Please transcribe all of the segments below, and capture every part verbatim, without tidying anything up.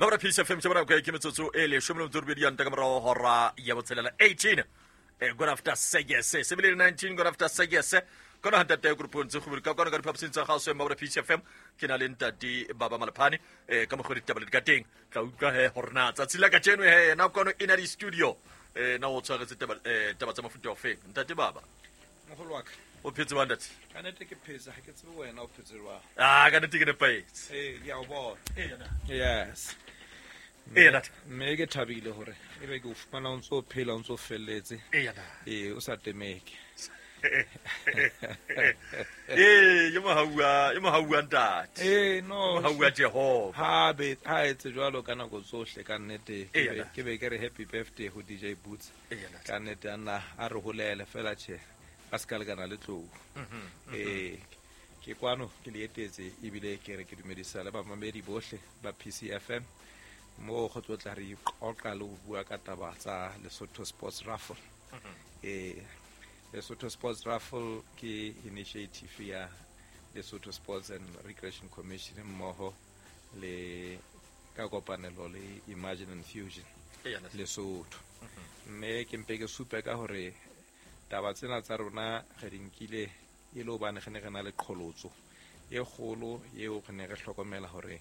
Mabra Peace F M tjabana kwa ke metsotso e leshome le metso e robedi ya nta ka morao hora ya botshelela eighteen eh good after six sebele nineteen good after six kona ntate group ntse go ka kona ka diphaposing tsa gaso Mabra Peace F M ke na le ntate Baba Malephane eh ka mogodi ditaba le ka teng tla utlwa he hore na tsatsi la kajeno he na kwano ina di studio eh na o tshwaretse taba eh taba tsa mofuta o feng ntate Baba mogolo wa ka o phetse wa ntate ka nete ke phetse ha ke tsebe wena o phetse jwang ah ka nete ke nepahetse eh ke a o bona eh yana yes eh ntate mme ke thabile hore ebe ke o fumana o ntso phela o ntso felletse eh yana eh o sa temeke eh yo mohaua yo mohaua ntate eh no mohaua Jehova ha be ha etse jwalo ka nako tsohle ka nnete Eh, ke be ke re happy birthday ho D J Boots eh yana ka nnete ana a re holele fela tjhe a ska lekana le tlou eh ke kwano ke le etetse ebile ke re ke dumedisa le bamamedi bohle ba P C F M mo go tlotla re qoqa le ho bua ka taba tsa Lesotho Sports Raffle eh Lesotho Sports Raffle ke initiative ya Lesotho Sports and Recreation Commission mmoho le ka kopanelo le Imagine and Fusion eh yana Lesotho mme ke mpe ke supe ka hore taba tsena tsa rona re di nkile e le hobane re ne re na le qholotso e kgolo eo re ne re hlokomela hore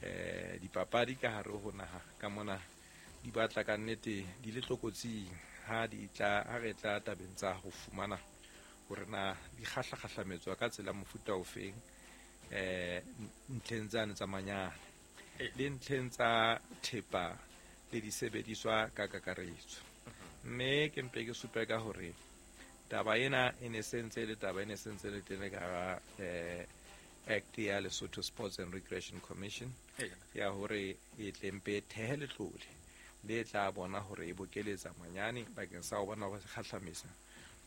eh dipapadi ka hare ho naha ka mona di batla ka nnete di le tlokotsing ha di tla ha re tla tabeng tsa ho fumana hore na di kgahlakgahlametswa ka tsela mofuta ofeng eh ntlheng tsane tsa manyane le ntlheng tsa thepa le disebediswa ka kakaretso mme ke mpe ke supe ka hore taba ena e ne sentse le taba e ne sentse le teng ka hara eh Act ya Lesotho Sports and Recreation Commission eh yana ya hore e tle mpe thehe letlole le tla bona hore e bokeletsa manyane bakeng sa ho bona hore se kgahlamisa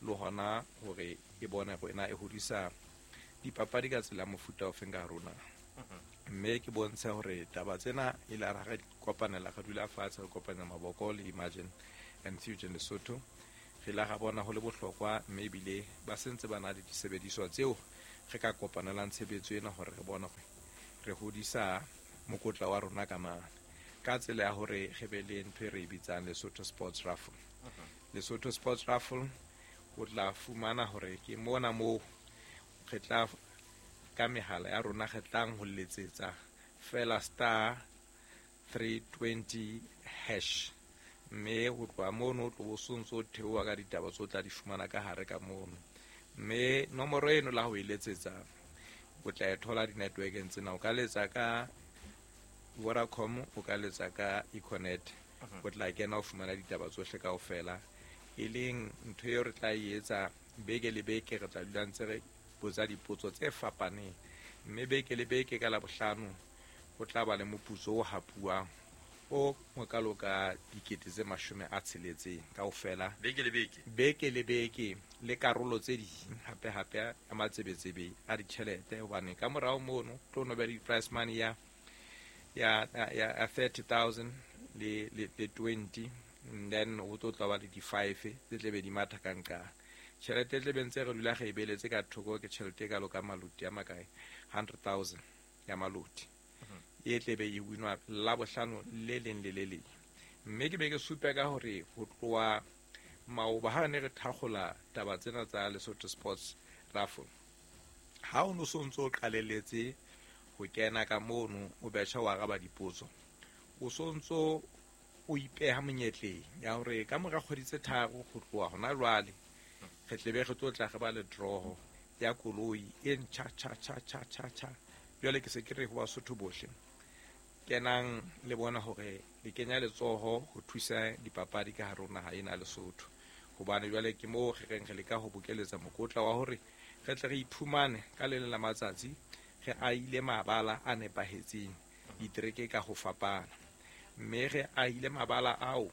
le hona hore e bone hore na e hodisa dipapadi ka tsela ya mofuta ofeng ka rona mme ke bontshe hore taba tsena e la re kopanela re dula fatshe re kopanya maboko le Imagine and Fusion Lesotho re la ga bona ho le bohlokwa mme ebile ba sentse ba na le disebediswa tseo re ka kopanelang tshebetso ena hore re bone hore re hodisa mokotla wa rona ka mane ka tsela ya hore re be le ntho e re e bitsang Lesotho Sports Raffle Lesotho Sports Raffle o tla fumana hore ke mona moo re tla ka mehala ya rona re tlang ho letsetsa fela star three twenty hash mme ho tloha mono o tlo bo sontso o theoha ka ditaba tse o tla di fumana ka hare ka mono mme nomoro eno la ho e letsetsa o tla e thola di-networkeng tsena o ka letsa ka Vodacom o ka letsa ka Econet o tla kena o fumana ditaba tsohle kaofela e leng ntho eo re tla e etsa beke le beke re tla dula ntse re botsa dipotso tse fapaneng mme beke le beke ka Labohlano ho tla ba le moputso o hapuwang o mokalo ka dikete tse mashome a tsheletseng kaofela beke le beke beke le beke le karolo tse ding hape hape ya matsebetsebe a ditjhelete hobane ka morao mono tlo no be le prize money ya ya ya ya thirty thousand le le le twenty and then ho tlo tla ba le di five tse tle be di matha ka nqa tjhelete e tle be ntse re dula re e beletse ka thoko ke tjhelete e kalo ka maloti a makae hundred thousand ya maloti e tle be e winwa Labohlano le leng le le leng mme ke be ke supe ka hore ho tloha maoba ha ne re thakgola taba tsena tsa Lesotho Sports Raffle ha o no so ntso o qalelletse ho kena ka mono o betjha wa araba dipotso o so ntso o ipeha monyetleng ya hore ka mora kgwedi tse tharo ho tloha hona jwale re tle be re tlo tla re ba le draw ya koloi e ntjha tjha tjha tjha tjha tjha jwale ke se ke re ho Basotho bohle kenang le bona hore le kenya letsoho ho thusa dipapadi ka hare ho naha ena ya Lesotho hobane jwale ke moo re reng re leka ho bokeletsa mokotla wa hore re tle re iphumane ka le leng la matsatsi re ahile mabala a nepahetseng ditereke ka ho fapana mme re ahile mabala ao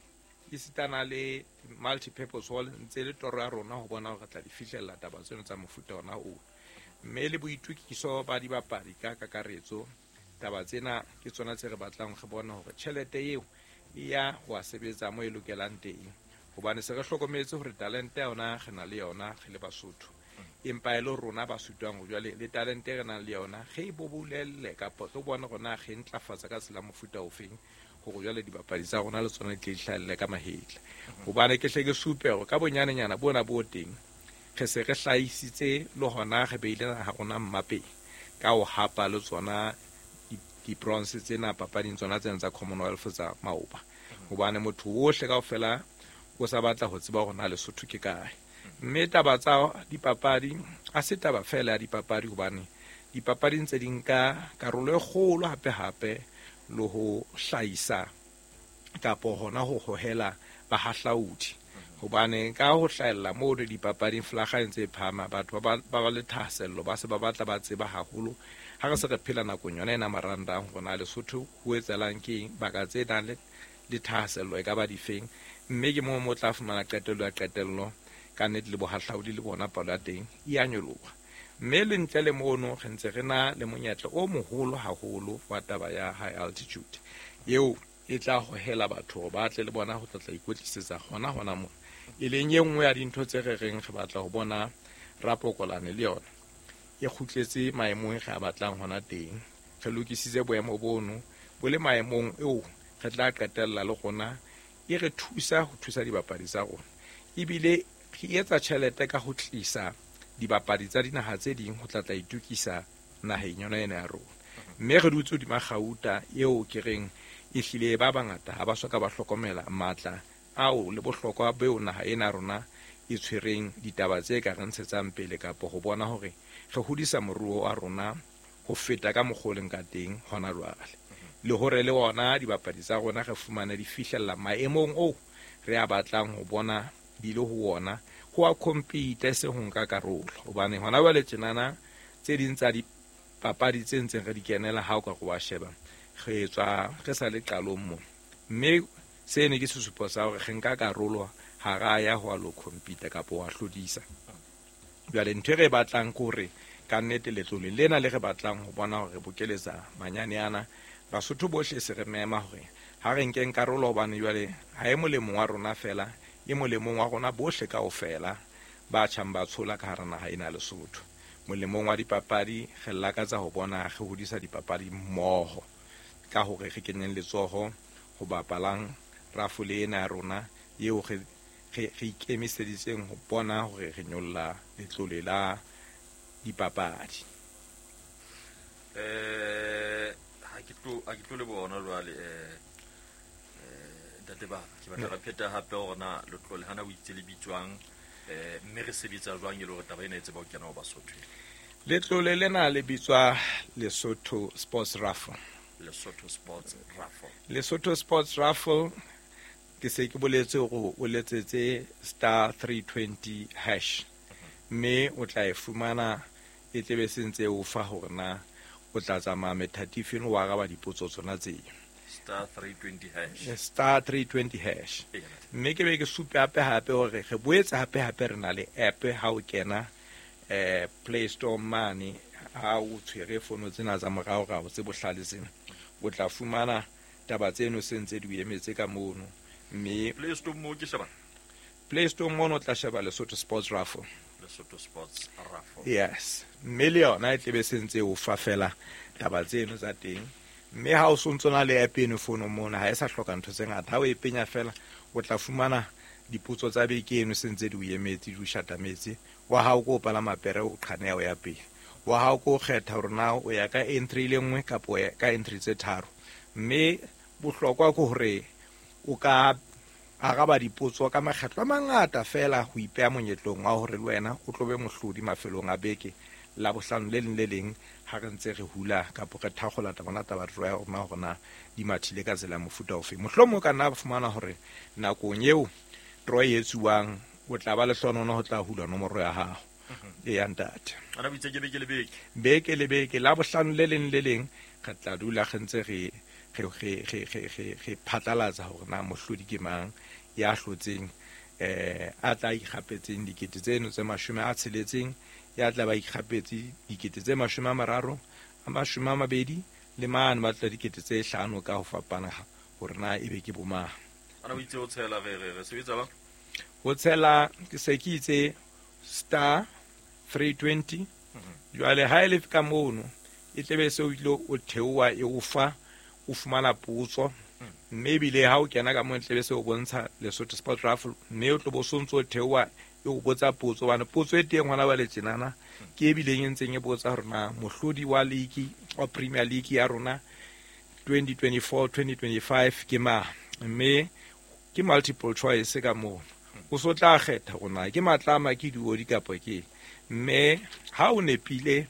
esitana le multi-purpose hall ntse le toro ya rona ho bona hore re tla di fihlella taba tseno tsa mofuta ona oo mme le boitukiso ba dibapadi ka kakaretso taba tsena ke tsona tse re batlang re bona hore tjhelete eo e ya ho a sebetsa mo e lokelang teng hobane se re hlokometse hore talente ya yona re na le yona re le Basotho Empa e le rona ba sutwang ho jwale le talente e re nang le yona ge e bobolelle kapa re bone hore na ge ntlafatsa ka tsela mofuta ofeng hore jwale dibapadi tsa rona le tsona di tle di hlahelle ka mahetla. Hobane ke hle ke supe hore ka bonyanenyana bona bo teng re se re hlahisitse le hona re beile naha rona mmapeng ka ho hapa le tsona di-bronze tsena papading tsona tsena tsa Commonwealth tsa maoba. Hobane motho ohle kaofela o sa batla ho tseba hore na Lesotho ke kae. Mme taba tsa dipapadi ha se taba fela ya dipapadi, hobane dipapadi ntse di nka karolo e kgolo hape hape le ho hlahisa kapo hona ho hohela bahahlaudi. Hobane ka ho hlahella moo le dipapading flaga e ntse e phahama, batho ba ba ba le thahasello, ba se ba batla ba tseba haholo. Ha re se re phela nakong yona ena marangrang hore na Lesotho ho etsahalang ke eng, baka tse nang le le thahasello e ka ba difeng. Mme ke moo mo tla fumana qetello ya qetello ka nnete le bohahlaudi le bona palo ya teng e a nyoloha. Mme le ntle le mono re ntse re na le monyetla o moholo haholo wa taba ya high altitude eo e tla hohela batho hore ba tle le bona ho tla tla ikwetlisetsa hona hona mona, e leng e nngwe ya dintho tse re reng re batla ho bona rapokolane le yona e kgutletse maemong re a batlang hona teng. Re lokisitse boemo bono bo le maemong eo re tla qetella le rona e re thusa ho thusa dibapadi tsa rona, ebile re etsa tjhelete ka ho tlisa dibapadi tsa dinaha tse ding ho tla tla itukisa naheng yona ena ya rona. Mme re dutse hodima kgauta eo ke reng ehlile ba bangata ha ba soka ba hlokomela matla ao le bohlokwa beo naha ena rona e tshwereng ditaba tse ka re ntshetsang pele kapo ho bona hore re hodisa moruo wa rona ho feta ka mokgwa o leng ka teng hona jwale. Le hore le ona dibapadi tsa rona re fumane di fihlella maemong oo re a batlang ho bona di le ho ona, ho a compete e seng ho nka karolo. Hobane hona jwale tjenana tse ding tsa dipapadi tse ntseng re di kenela ha o ka re wa sheba re tswa re sa le qalong mo, mme seno ke sesupo sa hore re nka karolo ha ra ya ho lo compete kapa wa hlodisa. Jwale ntho e re batlang ke hore ka nnete letlole lena le re batlang ho bona hore re bokeletsa manyane ana, Basotho bohle se re mema hore ha re nkeng karolo, hobane jwale ha e molemong wa rona fela, e molemong wa rona bohle kaofela ba tjhang ba tshola ka hara naha ena ya Lesotho. Molemong wa dipapadi re lakatsa ho bona re hodisa dipapadi mmoho ka hore re kenyeng letsoho ho bapalang rafole ena ya rona eo re re re ikemiseditseng ho bona hore re nyolla letlole la dipapadi. Eh ha ke tlo ha ke tlo le bona jwale eh eh ntate ba ke batla re pheta hape hore na letlole hana o itse le bitswang eh mme re sebetsa jwang e le hore taba ena e tseba ho kena ho Basotho. Letlole lena le bitswa Lesotho Sports Raffle. Lesotho Sports Raffle. Lesotho Sports Raffle ke se ke boletse hore o letsetse star three twenty hash, mme o tla e fumana e tlebe se ntse o fa hore na o tla tsamaya methatifeng wa araba dipotso tsona tseo. Star three twenty hash. Star three twenty hash. Mme ke be ke supe hape hape hore re boetse hape hape re na le app ha o kena eh Play Store mane, ha o tshwere fono tsena tsa moraorao tse bohlale tsena, o tla fumana taba tseno se ntse di o emetse ka mono. Mme Play Store mo ke sheba Play Store mono o tla sheba Lesotho Sports Raffle. Lesotho Sports Raffle. Yes. Mme le yona e tlebe se ntse o fa fela taba tseno tsa teng. Mme ha o sontso na le app eno fono mona ha e sa hloka ntho tse ngata, ha o e penya fela o tla fumana dipotso tsa beke eno se ntse di o emetse di o shatametse. Wa hao ko palama pere o qhaneha o ya pele, wa hao ko kgetha hore na o ya ka entry le nngwe kapa o ya ka entry tse tharo. Mme bohlokwa ke hore o ka araba dipotso ka makgetlo a mangata fela ho ipeha monyetlong wa hore le wena o tlo be mohlodi mafelong a beke la bohlano le leng le leng ha re ntse re hula kapa re thakgola taba taba ya rona hore na di mathile ka tsela ya mofuta ofe. Mohlomong o ka nna fumana hore nakong eo draw e etsuwang o tla ba lehlohonolo ho tla hula nomoro ya hao e ya ntate. Ana o itse ke beke le beke. Beke le beke la bohlano le leng le leng re tla dula re ntse re re re re re re re phatlalatsa hore na mohlodi ke mang ya hlotseng eh a tla ikgapetseng dikete tseno tse mashome a tsheletseng, ya tla ba ikgapetse dikete tse mashome a mararo, a mashome a mabedi le mane ba tla dikete tse hlano ka ho fapana hore na ebe ke bomang. Ana o itse ho tshela re re re sebetsa ba? Ho tshela ke se ke itse star three twenty. Jwale ha e le ka mono e tlebe se o ile o theoha e o fa o fumana potso, mme ebile ha o kena ka moo tlebe se o bontsha Lesotho Sports Raffle, mme o tlo bo sontso o theoha e o botsa potso, hobane potso e teng hona jwale tjenana ke e bileng e ntseng e botsa hore na mohlodi wa league wa Premier League ya rona twenty twenty-four twenty twenty-five ke mang, mme ke multiple choice ka moo o so tla kgetha hore na ke matlama ke diodi kapa ke, mme ha o nepile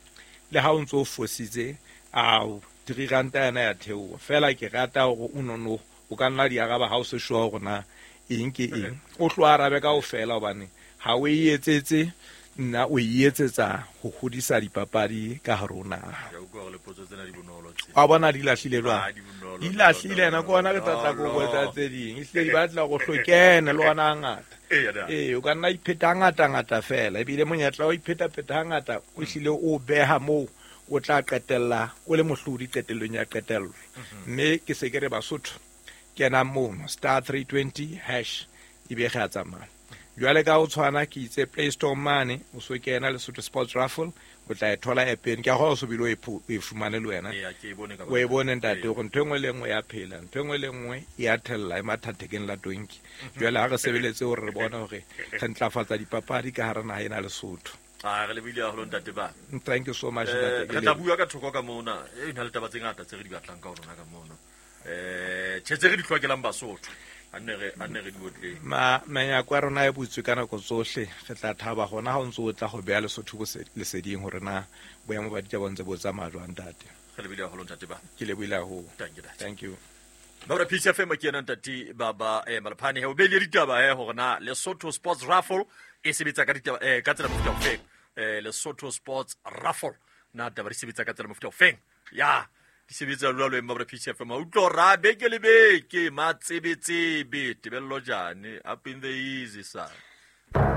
le ha o ntso o fositse ao three ranta yana ya theoha. Fela ke rata hore o nono o ka nna di araba ha o se sure hore na eng ke eng, o tlo arabe kaofela hobane ha o e etsetse nna o e etsetsa ho hodisa dipapadi ka hare ho naha. Ke a utlwa hore le potso tsena di bonolo tse. Wa bona di lahlile jwang? Ah, di bonolo, Di lahlile yena, ke hona re tla tla ko bonolo. botsa tse ding. Ehlile di batla hore o hlokene le hona hangata. Eya, da. Ee, o ka nna ipheta hangata ngata fela, ebile monyetla wa ho ipheta-pheta hangata o hlile o beha moo o tla qetella o le mohlodi qetellong ya qetello. Mme ke se ke re Basotho kenang mono star three twenty hash ebe re a tsamaya. Jwale ka ho tshwana ke itse Play Store mane o so kena Lesotho Sports Raffle o tla e thola app-eng. Ke a kgolwa o so bile o e pho-, o e fumane le wena. Eya, ke e bone ka O e bone ntate, Ee. hore ntho e nngwe le e nngwe ya phela, ntho e nngwe le e nngwe e a thella e mathathekeng la tonki. Jwale ha re sebeletse hore re bone hore re ntlafatsa dipapadi ka hara naha ena Lesotho. Ah, re lebile haholo ntate ba. Thank you so much, Eh, ntate. re tla bua ka thoko ka mona. E na le taba tse ngata tse re di batlang ka ho rona ka mona. Eh, tjhe tse re di hlokelang Basotho. A nne re, a nne re di otleng. Ma, menyako ya rona e butswe ka nako tsohle. Re tla thaba hona ha o ntso o tla ho beha Lesotho bose-, leseding hore na boemo ba ditaba bo ntse bo tsamaya jwang, ntate. Re lebile haholo ntate ba. Ke lebohile haholo. Thank you, ntate. Thank you. Maura P C F M ke yena ntate ba ba, eh, Malephane. He o beile ditaba, eh, hore na Lesotho Sports Raffle e sebetsa ka ditaba, eh, ka tsela mofuta ofeng. Eh, Lesotho Sports Raffle na taba di sebetsa ka tsela mofuta ofeng. Ya, di sebetsa jwalo Maura P C F M. O utlwa hore a beke le beke, matsebetsebe, Tebello Jane, up in the easy side.